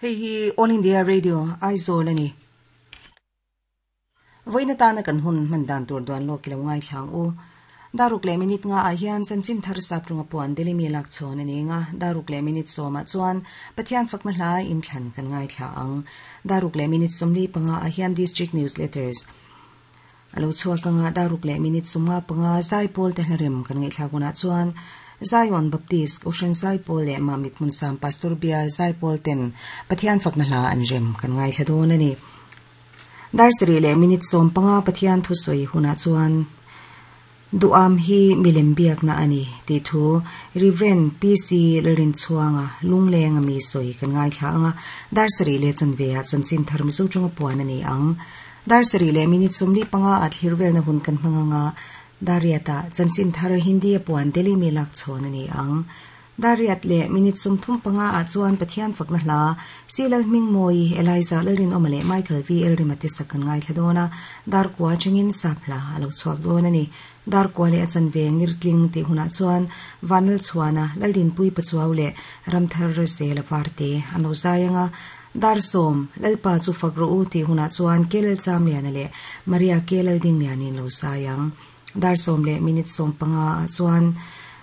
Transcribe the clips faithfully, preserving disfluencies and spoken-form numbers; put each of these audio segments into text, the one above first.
Hei hi All India Radio Aizawl ani. Voina tana kan hun man dan tur duan lo kilo ngai thlang u. Daruk le minute nga a hian chanchin thar sap runga puan deli mi lak chon ani nga daruk le minute soma chuan Pathian fakna hla in thlan kan ngai thla ang. Daruk le minute somli panga a hian district newsletters. Alo chhuak anga daruk le minute sumnga panga zaipol te hlarem kan ngai thla guna chuan Zion Baptist Ocean Zaipol le Mamit Munsam Pastor Bial Zaipol ten Pathian fakna hla an rem kan ngai thla dawn ani. Dar sari le minute som panga Pathian thu soi huna chuan duam hi milem biak na ani ti thu Reverend P C Lalrin Chuanga lungleng ami soi kan ngai thla anga dar sari le chanve a chanchin tharm zo chunga puan ani ang. Dar sari le minute somli panga a thlirvel na hun kan hmanga Dariata chanchin thar Hindi puan Delhi mi lak chon ani ang. Dariat le minute sum thum panga a chuan Pathian fakna hla Silal Ming Moi Eliza Lalrin Omale Michael V L Rimati sakan ngai thladona dar kwa chingin sapla alo chuak don ani. Dar kwa le achan ve ngirtling ti huna chuan Vanal Chuana Laldin Pui Pachuaw le Ramthar se la varte ano zayanga dar som lalpa chu fakru u ti huna chuan Kelal Chamliana le Maria Kelal Ding lianin lo sayang. Dar som le minute som panga chuan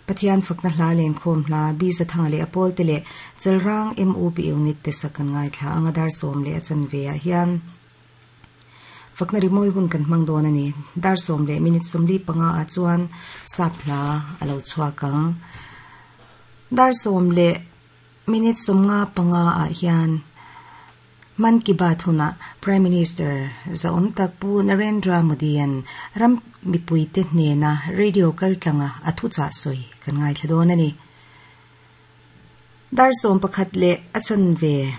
Pathian fakna hla leng khom hla bi za thanga le apol te le chelrang M O B unit te sakan ngai thla anga dar som le achan ve a hian fakna rimoi hun kan hmang don ani. Dar som le minute som li panga a chuan sapla alo chuakang. Dar som le minute som nga panga a hian Man Ki Baat huna Prime Minister Zaom Takpu Narendra Modi an ram mipui te hnena radio kaltlanga athu cha soi kan ngai thladon ani. Dar som pakhat le achan ve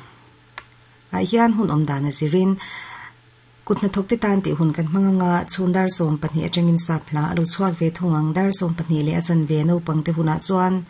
a hian hun om dana zirin kutna thokte tan ti hun kan hmanga chhun dar som pahnih atangin sapla alo chuak ve thungang dar som pahnih le achan ve no pangte huna chuan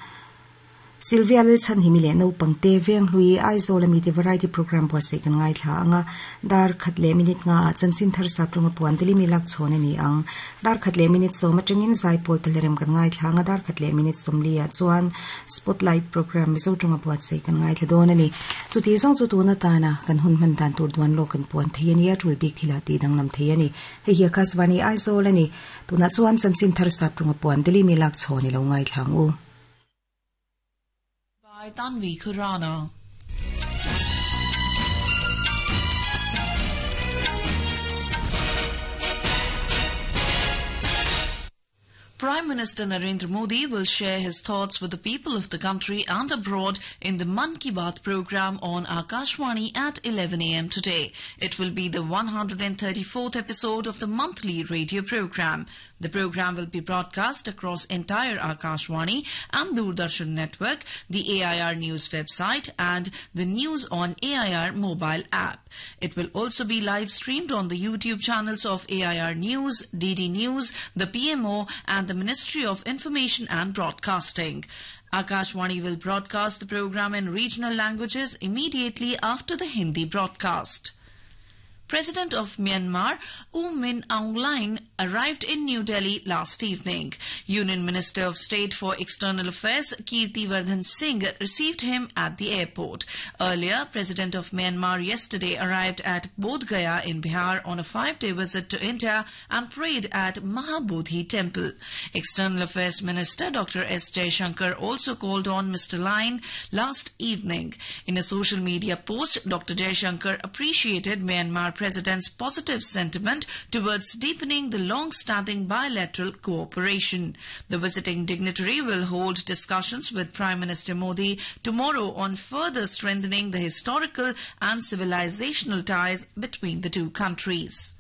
Sylvia Lilchan himile no pangte veng hlui Aizawl ami te variety program po se kan ngai thla anga dar khat le minute nga chanchin thar sap runga puan teli mi lak chon ani ang. Dar khat le minute som atangin zaipol telerem kan ngai thla anga dar khat le minute som lia chuan spotlight program mizo tunga po se kan ngai thla don ani. Chuti zong chu tuna tana kan hun man dan tur duan lo kan puan theiani a tul bik thila ti danglam theiani. Hei hi Akashvani Aizawl ani tuna chuan chanchin thar sap runga puan teli mi lak chon ni lo ngai thlang u. By Tanvi Khurana. Prime Minister Narendra Modi will share his thoughts with the people of the country and abroad in the Mann Ki Baat program on Akashvani at eleven a m today. It will be the one hundred thirty-fourth episode of the monthly radio program. The program will be broadcast across entire Akashvani and Doordarshan network, the A I R News website and the News on A I R mobile app. It will also be live streamed on the YouTube channels of A I R News, D D News, the P M O and the Ministry of Information and Broadcasting. Akashvani will broadcast the program in regional languages immediately after the Hindi broadcast. President of Myanmar, U Min Aung Hlaing, arrived in New Delhi last evening. Union Minister of State for External Affairs, Kirti Vardhan Singh, received him at the airport. Earlier, President of Myanmar yesterday arrived at Bodh Gaya in Bihar on a five-day visit to India and prayed at Mahabodhi Temple. External Affairs Minister Doctor S. Jaishankar also called on Mister Hlaing last evening. In a social media post, Doctor Jaishankar appreciated Myanmar President's positive sentiment towards deepening the long-standing bilateral cooperation. The visiting dignitary will hold discussions with Prime Minister Modi tomorrow on further strengthening the historical and civilizational ties between the two countries.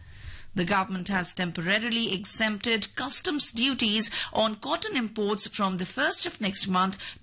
The government has temporarily exempted customs duties on cotton imports from the first of next month